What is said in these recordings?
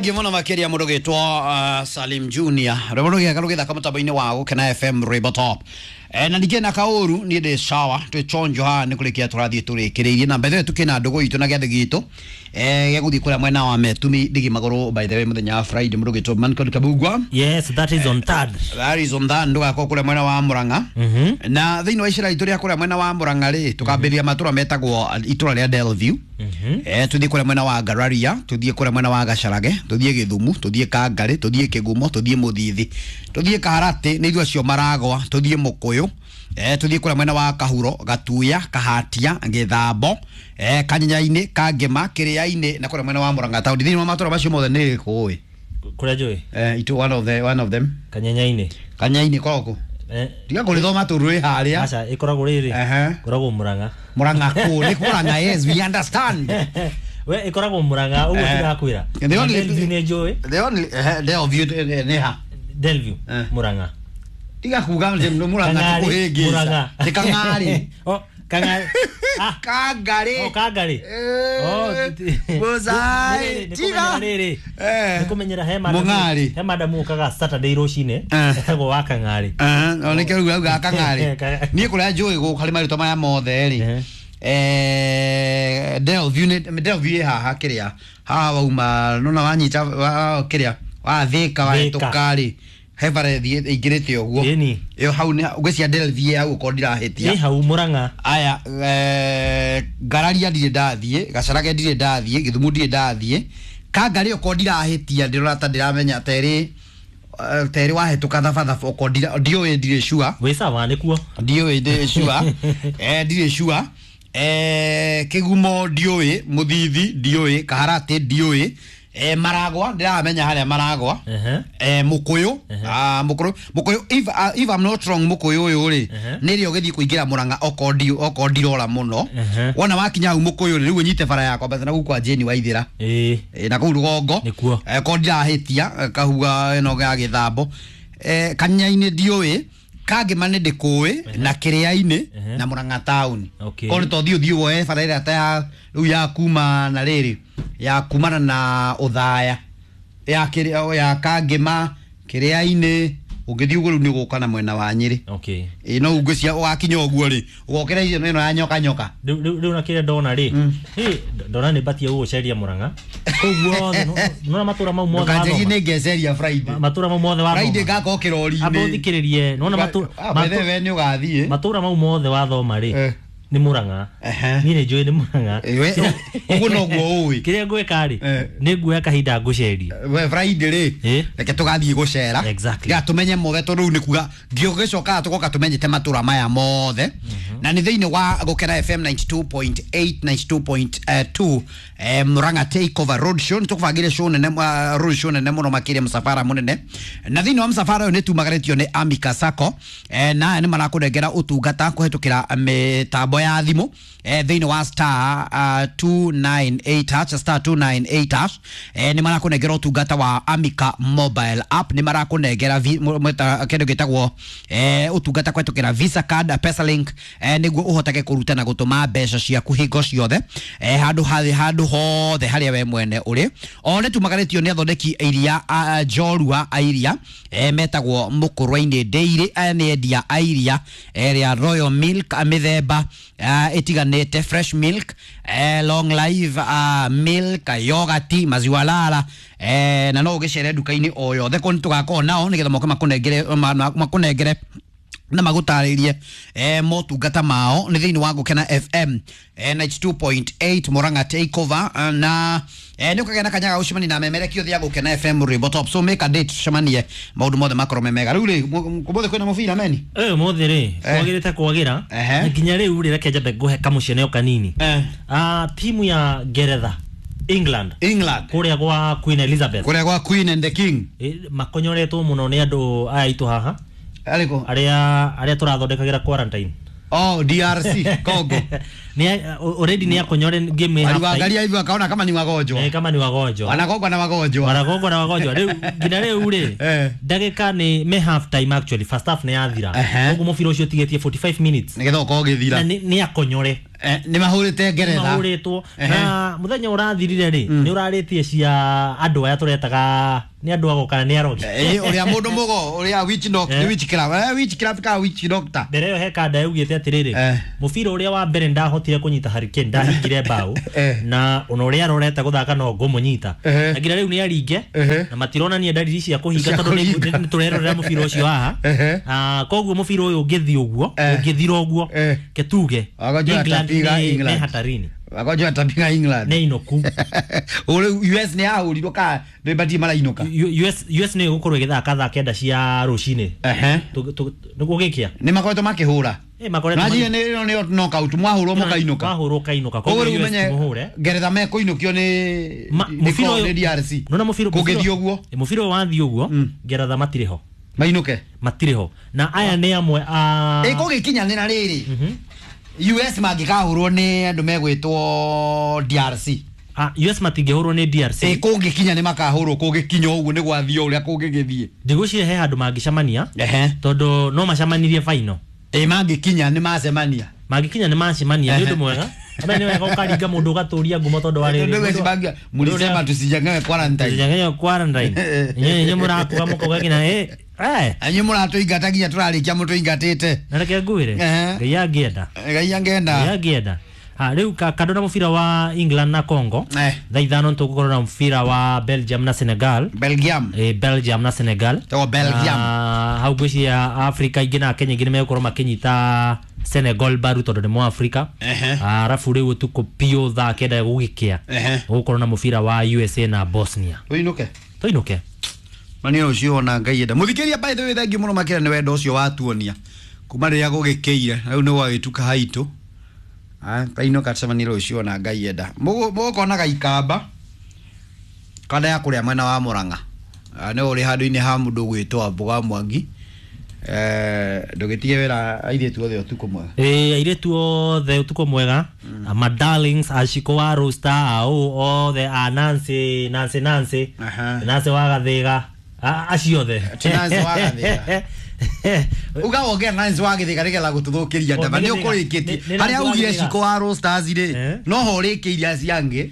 Thank you muno makiria mundu gitwo Salim Junior. Rwimbo rũgĩaka rũgĩthaka mũtambo-inĩ wa Gũkena FM Rwimbo Top. Na ningĩ na kaũru niĩ ndĩ sawa twĩ chonjo haha nĩ kũrĩkia tũrathiĩ tũrĩkĩrĩirie na mbere tukĩna ndũgũ itũ na gĩathĩ gitũ gĩa gũthiĩ kũrĩa mwena wa Metumi ndigi magũrũ by the way mũthenya wa Friday mũndũ gĩtwo Mancod Kabugwa. Yes, that is on third. That is on that ndũgakorwo kũrĩa mwena wa Murang'a. Na thĩinĩ wa icera itũ rĩa kũrĩa mwena wa Murang'a rĩ tũkambĩrĩria matũra metagwo itũra rĩa Delview. Tuthiĩ kũrĩa mwena wa Ngararia, tuthiĩ kũrĩa mwena wa Gacarage, tuthiĩ Gĩthumu, tuthiĩ Kangarĩ, tuthiĩ Kĩgumo, tuthiĩ Mũthithi, tuthiĩ Kaharatĩ nĩ ithuĩ acio maragwa, tuthiĩ Mũkũyũ, tuthiĩ kũrĩa mwena wa Kahuro, Gatuya, Kahatia, Gĩthambo, Kanyenyainĩ, Kangĩma, Kĩrĩa-inĩ na kũrĩa mwena wa Murang'a taũni. Thĩinĩ wa matũra macio mothe nĩ kũĩ Kũrĩa njũĩ? Itu one of them. Kanyenyainĩ. Kanyenyainĩ koragwo kũ? Tiga kũrĩthoma tũrĩ harĩa. Aca ĩkoragwo rĩrĩ. Ĩkoragwo Murang'a. Murang'a kũ? Nĩ Murang'a, yes, we understand. We ĩkoragwo Murang'a ũguo tirakwĩra. The only Delview nĩ njũĩ. The only Delview nĩ ha? Delview Murang'a. Tiga kuga nĩ Murang'a tũkũhĩngĩca. Nĩ Kang'arĩ. Oh, Kang'arĩ. Kangarĩ. Oh, Kangarĩ. Oh, Bullseye. Tiga. Rĩrĩ. Nĩ kũmenyera he madam. Mũng'arĩ. He madam ũkaga Saturday rũcinĩ. Etagwo wa Kang'arĩ. O nĩkĩo rĩu auga Kang'arĩ. Niĩ kũrĩa njũĩ gũkũ harĩ marĩtwa maya mothe rĩ. Delview nĩ Delview ĩ haha kĩrĩa. Haha wauma nona wanyita kĩrĩa wathĩka wahĩtũka rĩ. He bara ĩthiĩ ĩingĩrĩte ũguo. Ĩni. Ĩyo hau nĩ ngwĩciria Delview hau ũkorwo ndirahĩtia. Ĩ hau Murang'a. Aya Ngararia ndirĩ ndathiĩ, Gacarage ndirĩ ndathiĩ, Gĩthumu ndirĩ ndathiĩ. Kangarĩ okorwo ndirahĩtia ndĩrona ta ndĩramenya terĩ terĩ wahĩtũka thabathaba okorwo ndiũĩ ndirĩ sure. Wĩ sawa nĩkuo. Ndiũĩ ndirĩ sure. Ndirĩ sure. Kĩgumo ndiũĩ, Mũthithi ndiũĩ, Kaharatĩ ndiũĩ. Maragwa ndiramenya harĩa Maragwa. Mũkũyũ, Mũkũyũ, Mũkũyũ if I'm not wrong Mũkũyũ ũyũ rĩ nĩrĩo ũgĩthiĩ kũingĩra Murang'a okorwo ndirora mũno. Wona wakinya hau Mũkũyũ rĩ rĩu ũnyite bara yakwa mbatha na gũkũ kwa Jane Waithĩra. Na kũu rũgongo. Nĩkuo. Okorwo ndirahĩtia kahua ĩno ya Gĩthambo. Kanyainĩ ndiũĩ, Kangĩma nĩ ndĩkũĩ na Kĩrĩa-inĩ na Murang'a taũni. Korwo nĩ to thiĩ woe bara ĩrĩa ta ya rĩu ya kuma na rĩrĩ ya kumana na Ũthaya ya kĩrĩa ya Kangĩma Kĩrĩa-inĩ ũngĩthiĩ ũguo rĩu nĩ ũgũka na mwena wa Nyĩrĩ. Ĩ no ngwĩciria ũgakinya ũguo rĩ ũgokĩra icio ĩno ya nyoka nyoka. Rĩu na kĩrĩa ndona rĩ ndona nĩ batie gũgũceria Murang'a kũu guothe nona matũra mau mothe Ndũkanjĩrie wathoma. nĩ ngeceria Friday. Matũra mau mothe wathoma. Friday ngakorwo kĩrori-inĩ. Amba ũthikĩrĩrie nona By the way nĩ ũgathiĩ. matũra mau mothe wathoma rĩ nĩ Murang'a. Niĩ nĩ njũĩ nĩ Murang'a. Ũguo noguo ũĩ. Kĩrĩa ngwĩka rĩ nĩ nguoya kahinda ngũcerie. We Friday rĩ reke tũgathiĩ gũcera. Exactly. Nĩgetha tũmenye mothe tondũ rĩu nĩ kuga ngĩũgĩcokaga tũgoka tũmenyete matũra maya mothe. Na nĩ thĩinĩ wa Gũkena FM 92.8 92.2 Murang'a Takeover Road Show nĩ tũkũbangĩre show nene road show nene mũno makĩria msafara mũnene. Na thĩinĩ wa msafara ũyũ nĩ tumagarĩtio nĩ Amika Sacco na aya nĩ marakũnengera ũtungata kũhetũkĩra mĩtambo ya thimũ thĩinĩ wa star 298 hash star 298 hash nĩ marakũnengera ũtungata wa Amika mobile app nĩ marakũnengera kĩndũ gĩtagwo ũtungata kũhetũkĩra Visa card Pesalink nĩguo ũhotage kũruta na gũtũma mbeca ciaku hingo ciothe handũ hothe harĩa we mwene ũrĩ. O nĩ tumagarĩtio nĩ athondeki iria njorua a iria metagwo Mũkũrwe-inĩ Dairy. Aya nĩ endia a iria rĩa Royal Milk mĩthemba ĩtiganĩte, fresh milk, long life milk, yogurt, maziwa lala na no ũgĩcere nduka-inĩ o yothe kũu nĩ tũgakorwo nao nĩgetha moke makũnengere na magũtarĩrie motungata mao nĩ thĩinĩ wa Gũkena FM 92.8 Murang'a Takeover na nĩ ũkagĩa na kanya ga gũcemania na memerekio othe ya Gũkena FM Rwimbo Top. So make a date tucemanie maũndũ mothe makorwo me mega. Rĩu rĩ ũmũthĩ kwĩna mũbira meni? Ũmũthĩ rĩ kwagĩrĩte kwagĩra nginya rĩu rĩ reke njambe ngũhe kamũcene o kanini. Timu ya Ngeretha England kũrĩa gwa Queen Elizabeth, kũrĩa gwa Queen and the King makonyoretwo mũno nĩ andũ aya aitũ haha arĩkũ arĩa tũrathondekagĩra quarantine. Oh, DRC Congo. Ni already ni akonyore game half. Waliwaangalia hivi wakaona kama ni wagonjwa. Kama ni wagonjwa. Wanagongwa na wagonjwa. Wanagongwa na wagonjwa. Rĩu nginya rĩu rĩ ndagĩka ni me half time actually first half ni yathira. Koguo mũbira ũcio ũtigĩtie 45 minutes. Nĩgetha ũkorwo ũgĩthira. Na ni akonyore. Nĩ mahũrĩte Ngeretha. Mahũrĩtwo na mũthenya ũrathirire rĩ nĩ ũrarĩtie cia andũ aya tũretaga nĩ andũ ago kana nĩ arogi. Ũrĩa mũndũ mũgo ũrĩa witch doctor witch club witch club ka witch doctor. Mbere ĩyo he kanda yaugĩte atĩrĩrĩ mũbira ũrĩa wa mbere ndahotire kũnyita Harry Kane ndahingire mbaũ na ona ũrĩa arorete gũthaka no ngũmũnyita na nginya rĩu nĩ aringe na matironania ndariri cia kũhinga tondũ nĩ tũrerorera mũbira ũcio haha. Koguo mũbira ũyũ ũngĩthiĩ ũguo ũngĩthira ũguo ketuge England nĩ hatarini. Wagonjwa atapiga England. Nĩ inoku. Ule US nĩ yahũrirwo ka nĩ batie marainũka. US nĩ ĩgũkorwo ĩgĩthaka thaa 9 cia rũcinĩ. Nĩguo gĩkĩa. Nĩ makoretwo makĩhũra. Makoretwo. Najie nĩ nĩ knockout mwahũrwo mũkainũka. Mwahũrwo kainũka. Koguo US mũhũre. Ngeretha mekũinũkio nĩ nĩ DRC. Nona mũbira kũngĩthiĩ ũguo. Mũbira wathiĩ ũguo Ngeretha matirĩ ho. Mainũke. Matirĩ ho. Na aya nĩ amwe a ĩkũgĩkinyanĩra rĩrĩ. US mangĩkahũrwo nĩ andũ megwĩtwo DRC. US matingĩhũrwo nĩ DRC. Kũngĩkinya nĩ makahũrwo kũngĩkinya ũguo nĩ gwathiĩ ũrĩa kũngĩgĩthiĩ. Ndigwĩciria he handũ mangĩcemania tondũ no macemanirie final. Mangĩkinya nĩ macemania. Mangĩkinya nĩ macemania nĩ ũndũ mwega. Ame nĩ wega ũkaringa mũndũ ũgatũria ngumo tondũ wa rĩrĩ. Mũrisema tusijangewe quarantine. Tusijangewe quarantine. Inyuĩ mũrakuga mũkauga nginya Anyu mũratũingata nginya tũrarĩkia mũtũingatĩte. Na reke ngwĩre Ngai angĩenda. Ngai angĩenda. Ngai angĩenda. Rĩu kando na mũbira wa England na Congo thaa 5 tũgũkorwo na mũbira wa Belgium na Senegal. Belgium. Belgium na Senegal. To Belgium. Hau ngwĩciria Africa ingĩ na Kenya ingĩ nĩ megũkorwo makĩnyita Senegal baru tondũ nĩ mwa Africa. Arabu rĩu ũtukũ biũ thaa 9 gũgĩkĩa gũgũkorwo na mũbira wa USA na Bosnia. Tũinũke. Tũinũke. Mani ũcio ona Ngai enda. Mũthikĩria by the way thank you mũno makĩria nĩ wendo ũcio watuonia. Kuma rĩrĩa gũgĩkĩire rĩu nĩ gwagĩtuka haitũ. Kainũka tũcemanie rũciũ ona Ngai enda. Mũgũkonaga ikamba kanda ya kũrĩa mwena wa Murang'a. Nĩ ũrĩ handũ-inĩ ha mũndũ ũgwĩtwo Mboga Mwangi. Ndũgĩtige wĩra airĩtu othe ũtukũ mwega. Airĩtu othe ũtukũ mwega. Ma darlings Ashiko wa Rosta au othe a Nancy Nancy Nancy Nancy wa Gathĩga acio othe. Ti Nancy wa Gathĩga. Uga wongera Nancy wa Gathĩga nĩgetha gũtũthũkĩria ndaba nĩ ũkũrĩkĩtie harĩa ugire Shiko wa Rosters rĩ no ho ũrĩkĩirie acio angĩ.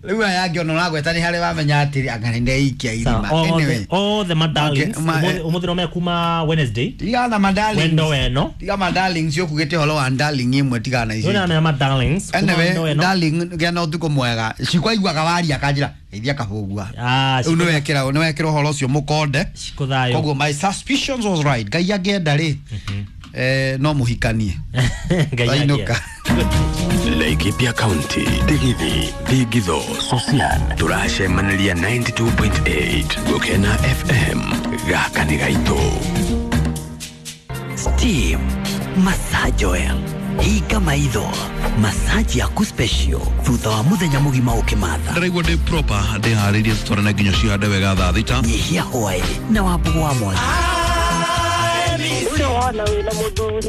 Rĩu aya angĩ ona ũragweta nĩ harĩa wamenya atĩrĩ anga nĩ ndeikia irima. Anyway, othe ma darlings ũmũthĩ no mekuma Wednesday. Tiga na ma darlings. Wendo weno. Tiga ma darlings yokugĩte ũhoro wa darling ĩmwe tiga na icio. Nĩ ma darlings. Anyway, darling gĩa na ũtukũ mwega. Shiko aiguaga waria akanjĩra geithia kabũgua. Rĩu nĩ wekĩra nĩ wekĩra ũhoro ũcio mũkonde. Shiko thayũ. Koguo my suspicions was right. Ngai angĩenda rĩ no mũhikanie. Ngai angĩenda. Laikipia County, Digithi, Thigitho, Sosian, tũracemanĩria 92.8 Gũkena FM, gaka nĩ gaitũ. Steam, massage oil, hinga maitho, massage yaku special, thutha wa mũthenya mũgima ũkĩmatha. Ndĩraigua ndĩ proper, ndĩharĩirie tũtwarane nginya cihande wega thaa 6. Nyihia hwaĩ na Wambũgũ wa Mwangi. Ũcio wona wĩna mũthuri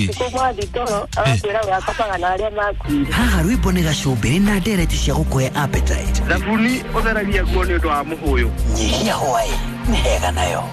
ũtukũ mwathi toro agakwĩra we akomaga na arĩa makuire. Haha rwĩmbo nĩ gacumbĩrĩ na ndereti cia gũkũhe appetite. Thabuni ũtheragia nguo nĩ ũndũ wa mũhũyũ. Nyihia hwaĩ nĩ hega nayo.